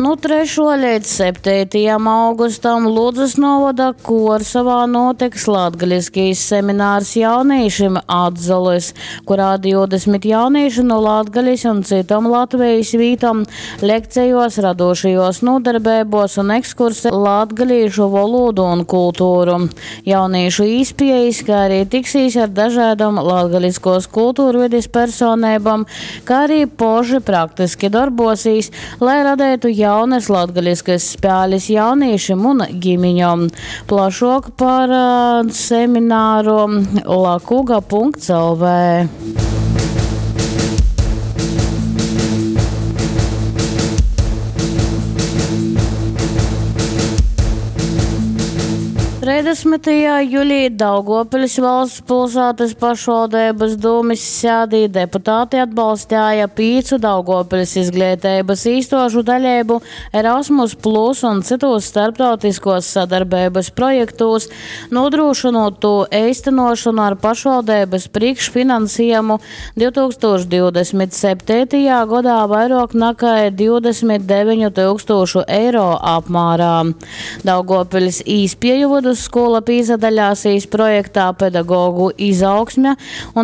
Nu 3. leidz 7. augustam Ludzas novada Kuorsovā notiks latgaliskais seminārs jaunīšim Atzolys, kurā 20 jaunīši no Latgalis un citom Latvijas vītom lekcijos, radošajos nodarbībos un ekskurse latgalīšu valodu un kultūru. Jaunīšu īspējas, kā arī tiksīs ar dažādom latgaliskos kultūrvides personībām, kā arī poši praktiski darbosīs, lai radētu jaunas latgaliskas spēles jauniešiem un ģimiņom. Plašāk par semināru lakuga.lv. 30. jūlijā Daugavpils valsts pilsētas pašvaldības dūmes sēdī deputāti atbalstīja pīcu Daugavpils izglītības īstošu daļību Erasmus Plus un citos starptautiskos sadarbības projektos, nodrošinot to īstenošanu ar pašvaldības priekšfinansējumu 2027. gadā vairāk nekā 29 tūkstošu eiro apmērā. Daugavpils īspēju vidusskola pīzadaļāsīs projektā pedagogu izaugsme un.